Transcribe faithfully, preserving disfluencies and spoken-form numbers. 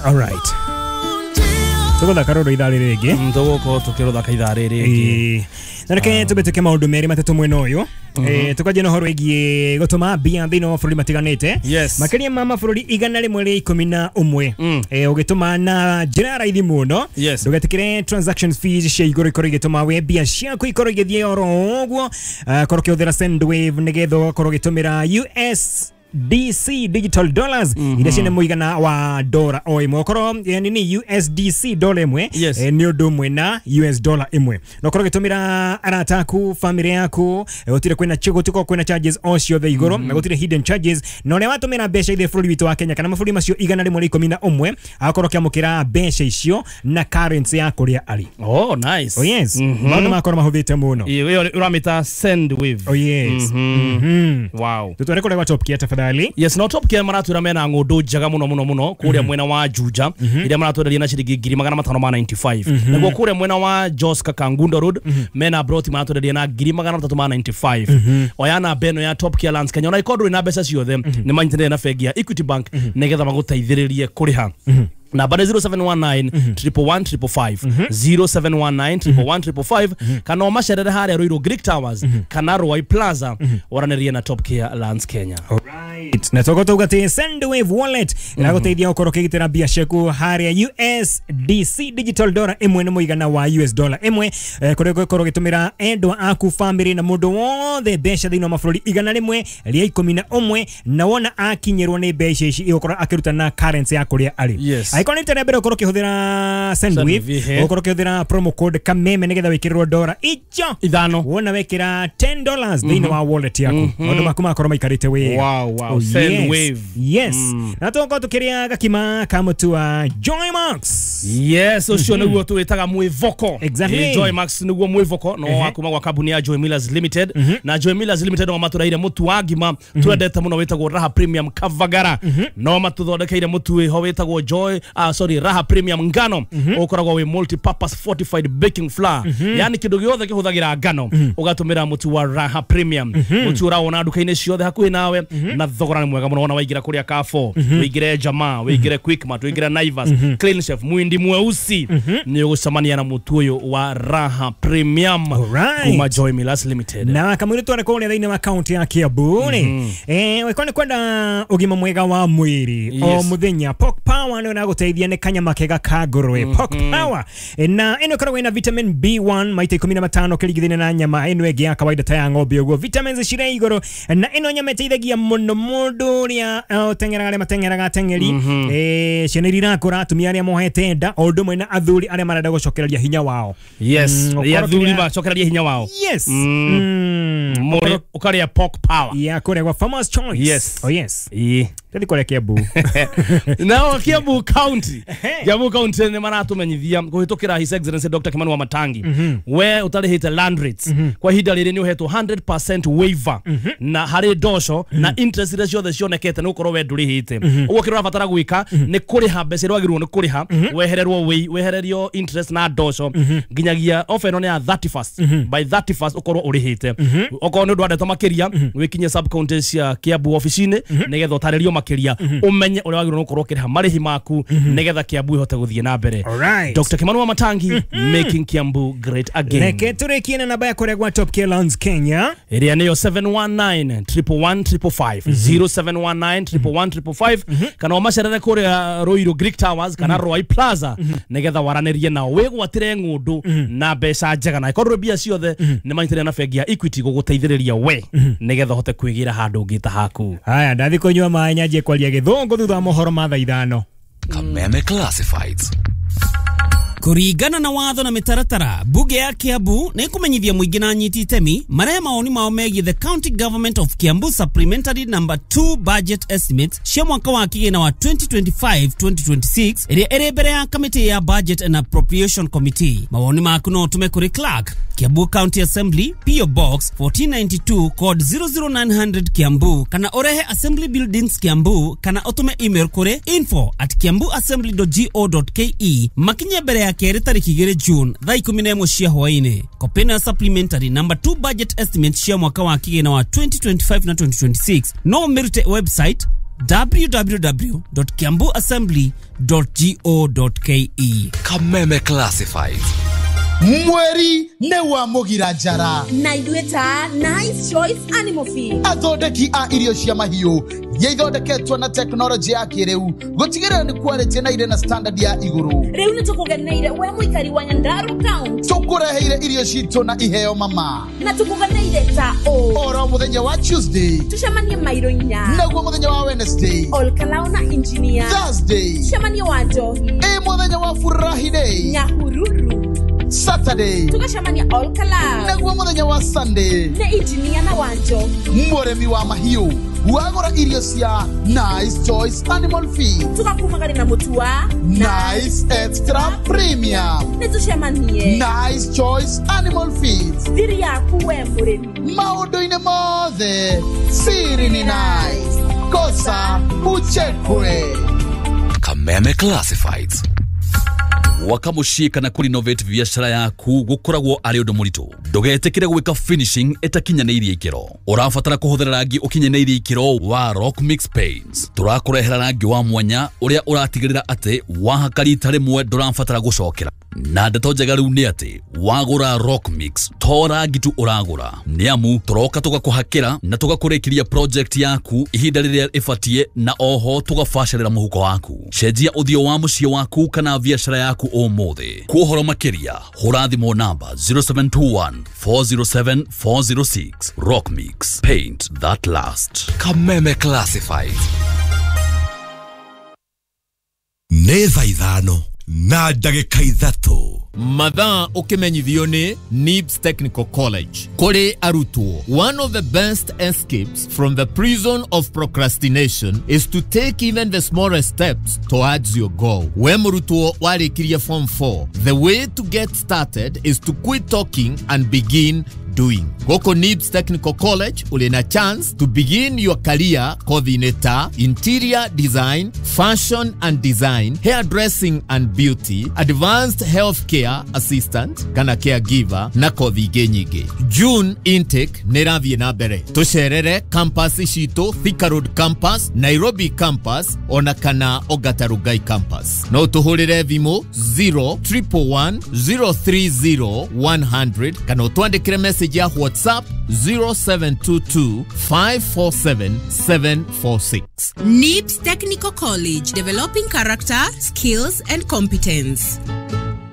Alright, tũgũthaka rũrũ ithaa rĩrĩ rĩngĩ. Tũgũkorwo tũkĩrũthaka ithaa rĩrĩ rĩngĩ. Ĩĩ. Na reke tũbĩtũke maũndũ merĩ matatũ mwena ũyũ. Eh, tukanjia na ũhoro wĩgiĩ gũtũma mbia thĩinĩ wa mabũrũri matiganĩte, Yes. makĩria ma mabũrũri igana rĩmwe rĩa ikũmi na ũmwe. Mm. Eh, ũgĩtũma na njĩra ya raithi mũno, Yes. ndũgetĩkĩre transaction fees cia igũrũ ikorwo igĩtũma we mbia ciaku ikorwo igĩthiĩ oro ũguo. Eh, korwo ũkĩhũthĩra Sendwave nĩgetha ũgakorwo ũgĩtũmĩra U S D C digital dollars iria ciĩna mũigana wa dora o ĩmwe. Okorwo eh, nini U S D C dola ĩmwe Yes. eh, nĩ ũndũ ũmwe na U S dollar ĩmwe, na ũkorwo ũgĩtũmĩra arata aku, family yaku, eh, gũtirĩ kwĩna gũtikorwo kwĩna charges o ciothe igũrũ na gũtirĩ hidden charges. Na ũrĩa watũmĩra mbeca ithe bũrũri witũ wa Kenya kana mabũrũri macio igana rĩmwe rĩa ikũmi na ũmwe, agakorwo akĩamũkĩra mbeca icio na currency ya kũrĩa arĩ. Oh, nice. Oh yes. Mhm. Maũndũ makorwo mahũthĩte mũno. Ĩyo ĩyo ũramĩta Sendwave. Oh yes. Mhm. Mhm. Wow. Tutware kũrĩa gwa Top Gear tafadhali. Yes, no Top Gear maratwĩra mena ng'ũndũ njega mũno mũno mũno kũrĩa mwena wa Juja, iria maratwenderia na ciringi ngiri magana matano ma mĩrongo kenda na ithano. Naguo kũrĩa mwena wa Jos Kangundo Road mena broti maratwenderia na ngiri magana matatũ ma mĩrongo kenda na ithano. Oya namba ĩno ya Top Gear Lands Kenya, ona ikorwo ndũrĩ na mbeca ciothe, nĩ manyitanĩire na bengi ya Equity Bank nĩgetha magũteithĩrĩrie kũrĩha. Namba nĩ zero seven one nine one one five five five, zero seven one nine one one five five five, kana ũmacerere harĩa Ruiru Greek Towers kana Ruai Plaza, waranĩrie na Top Care Lands Kenya. Alright. Na toko tuga ati Sendwave wallet ĩragũteithia gũkorwo ũkĩgitĩra mbia ciaku harĩa U S D C digital dollar ĩmwe nĩ mũigana wa U S dollar ĩmwe, eh, kũrĩa ũgũkorwo ũgĩtũmĩra endwa aku, family na mũndũ wothe mbeca thĩinĩ wa mabũrũri igana rĩmwe rĩa ikũmi na ũmwe, na wona akinyĩrwo nĩ mbeca ici igũkorwo akĩruta na currency ya kũrĩa arĩ. Yes. Angĩkorwo nĩ rita rĩa mbere ũkorwo ũkĩhũthĩra Sendwave, Sendwave, ehe. ũkorwo ũkĩhũthĩra promo code Kameme nĩgetha wĩkĩrĩrwo dora icho ithano wona wekĩra ten dollars thĩinĩ wa wallet yaku, maũndũ maku makorwo maikarĩte wega. Wow, wow. Oh, Sendwave. yes. Yes. Na tũgũkorwo tũkĩrĩa gakima ka mũtu wa Joy Max. Yes, ũcio nĩguo tũwĩtaga mwĩvoko. Exactly. Eh, Joy Max nĩguo mwĩvoko no Ehe. wa kuma gwa kambuni ya Joy Millers Limited, na Joy Millers Limited no matũreire mũtu wa ngima twendete mũno wĩtagwo Raha Premium Kavagara. No matũthondekeire mũtu wĩho wĩtagwo Joy, ah, sorry, Raha Premium Ngano, ũkoragwo wĩ multi purpose fortified baking flour, yani kĩndũ gĩothe kĩhũthagĩra ngano ũgatũmĩra mũtu wa Raha Premium. Mũtu ũrawona nduka-inĩ ciothe hakuhĩ nawe na thogora nĩ mwega mũno. Wona waingĩra kũrĩa Carrefour, wĩingĩre Jamaa, wĩingĩre Quickmart, wĩingĩre Naivas, Clean Chef, Mwindi Mweusi, nĩ ũgũcemania na mũtu ũyũ wa Raha Premium Alright. kuma Joy Millers Limited. Na kamwĩrĩ tware kũrĩa thĩinĩ wa kaunti ya Kiambu rĩ, eh wĩkorwo nĩ kwenda ũgima mwega wa mwĩrĩ o Yes. mũthenya, Pork Power nĩyo ĩragũteithia. Nĩ kanyama kega ka ngũrwe, Pork Power. Eh, na ĩno ĩkoragwo ĩna vitamin B one maita ikũmi na matano kĩringithania na nyama ĩno ĩngĩ ya kawaida ta ya ng'ombe ũguo. Vitamins cirĩ igũrũ, na ĩno nyama ĩteithagia mũno mũndũ ũrĩa eh, ũteng'eraga, arĩa mateng'eraga, ateng'eri, eh, ciana iria irakũra, atumia arĩa mohete nda, o ũndũ ũmwe na athuri arĩa marenda gũcokereria hinya wao. Yes. Mm, mm, athuri ũkorwo macokererie hinya wao. Yes. Mm. Mm. Mũrĩ- ũkarĩa Pork Power. Ya kũrĩa gwa Farmers Choice. Yes. Oh yes. Ĩĩ. Tũthiĩ kũrĩa Kiambu. Nao Kiambu County, Kiambu County nĩ maratumenyithia kũhĩtũkĩra His Excellency Doctor Kimani wa Matangi, we ũtarĩhĩte land rates kwa ihinda rĩrĩ nĩ ũhetwo one hundred percent waiver na harĩ ndoco na interest iria ciothe cionekete nĩ gũkorwo we ndũrĩhĩte. Ũguo kĩrĩa ũrabatara gwĩka nĩ kũrĩha mbeca iria wagĩrĩirwo nĩ kũrĩha, wehererwo wĩi, wehererio interest na ndoco nginyagia offer ĩno nĩ ya thirty-first. By thirty-first ũkorwo ũrĩhĩte. Okorwo nĩ ũndũ wa ndeto makĩria, wĩkinye sub county cia Kiambu ofici-inĩ nĩgetha ũtarĩrio makĩria, ũmenye ũrĩa wagĩrĩirwo nĩ gũkorwo ũkĩrĩha marĩhi maku nĩgetha Kiambu ĩhote gũthiĩ na mbere. Alright. Doctor Kimani wa Matangi, making Kiambu great again. Reke tũrĩkie na namba ya kũrĩa gwa Top Care Lands Kenya. Ĩrĩa nĩyo seven one nine one one five five five, zero seven one nine one one five five five, kana ũmacerere kũrĩa Ruiru Greek Towers kana Ruai Plaza nĩgetha waranĩrie nao wĩgwatĩre ng'ũndũ na mbeca njega, na ĩkorwo mbia ciothe nĩ manyitanĩire na bengi ya Equity gũgũteithĩrĩria we nĩgetha ũhote kwĩgĩra handũ ũngĩ ta haku. Haya, ndathi kũnyua maĩ nyanjie kwaria gĩthũngũ thutha wa mohoro ma thaa ithano. Kameme Classifieds. Kũringana na watho na mĩtaratara, bunge ya Kiambu nĩ ĩkũmenyithia mũingĩ na anyiti itemi marehe mawoni mao megiĩ the County Government of Kiambu Supplementary Number two Budget Estimates cia mwaka wa kĩgĩna wa twenty twenty-five twenty twenty-six ĩrĩa ĩrĩ mbere ya kamĩtĩ ya Budget and Appropriation Committee. Mawoni maku no ũtũme kũrĩ Clerk, Kiambu County Assembly, P O Box one four nine two, code zero zero nine zero zero, Kiambu, kana ũrehe Assembly Buildings, Kiambu, kana ũtũme email kũrĩ info at kiambuassembly dot go dot ke makinye mbere ya kerĩ tarĩki igĩrĩ June thaa ikũmi na ĩmwe cia hwaĩ-inĩ. Kopĩ ya supplementary number two budget estimate cia mwaka wa kĩgĩna wa twenty twenty-five na twenty twenty-six no ũmĩrute website w w w dot kiambu assembly dot go dot k e. Kameme Classifieds. Mweri nĩ wa mũgira njara na ithuĩ ta Nice Choice Animal Feed, athondeki a irio cia mahiũ iria ithondeketwo na tekinoronjĩ ya kĩrĩu gũtigĩrĩra nĩ quality na irĩ na standard ya igũrũ. Rĩu nĩ tũkũgeneire we mũikari wa Nyandarua County, tũkũreheire irio citũ na iheo mama, na tũkũgeneire ta ũ oro mũthenya wa Tuesday tũcemanie mairo inya, naguo mũthenya wa Wednesday Olkalao na Engineer, Thursday tũcemanie wa Njohi, ĩ mũthenya wa Friday Nyahururu, Saturday tugacemania Olkalao, naguo mũthenya wa Sunday nĩ Engineer na Wanjohi. Mũrĩmi wa mahiũ wagũra irio cia Nice Choice Animal Feed tugakumagari na mũtu wa Nice Extra Premium. Nĩ tũcemanie Nice Choice Animal Feed, thiri yaku we mũrĩmi maũndũ-inĩ mothe siri ni nice, kosa uchekwe. Kameme Classifieds. Gwaka muciĩ kana kũrenovate biacara yaku gũkoragwo arĩ ũndũ mũritũ. Ndũgetĩkĩre gwĩka finishing ĩtakinyanĩirie ikĩro. Ũrabatara kũhũthĩra rangi ũkinyanĩirie ikĩro wa Rock Mix Paints. Tũrakũrehera rangi wa mwanya ũrĩa ũratigĩrĩra atĩ wahaka rita rĩmwe ndũrabatara gũcokera. Na ndeto njega rĩu nĩ atĩ wagũra Rock Mix to rangi tu ũragũra, nĩ amu tũroka tũgakũhakĩra na tũgakũrĩkĩria project yaku ihinda rĩrĩa ĩbatiĩ, na oho tũgabacĩrĩra mũhuko waku. Cenjia ũthiũ wa mũciĩ waku kana biacara yaku ũmũthĩ. Kwa ũhoro makĩria hũra thimũ namba zero seven two one four zero seven four zero six. Rock Mix, paint that last. Kameme Classifieds. Nĩ thaa ithano na ndagĩka ithatũ. Mathaa ũkĩmenyithio nĩ Nibs Technical College. Kũrĩ arutwo, one of the best escapes from the prison of procrastination is to take even the smallest steps towards your goal. We mũrutwo warĩkirie form four, the way to get started is to quit talking and begin doing. Goko Nibs Technical College uli na chance to begin your career kothi-inĩ ta interior design, fashion and design, hairdressing and beauty, advanced healthcare assistant kana caregiver na kothi ingĩ nyingĩ. June intake nĩ ĩrathiĩ na mbere. Tũcerere campus citũ, Thika Road campus, Nairobi campus ona kana Ongata Rongai campus. No tũhũrĩre thimũ zero triple one zero three zero one hundred kana ũtwandĩkĩre message ya WhatsApp zero seven two two five four seven seven four six. Nibs Technical College, developing character, skills and competence.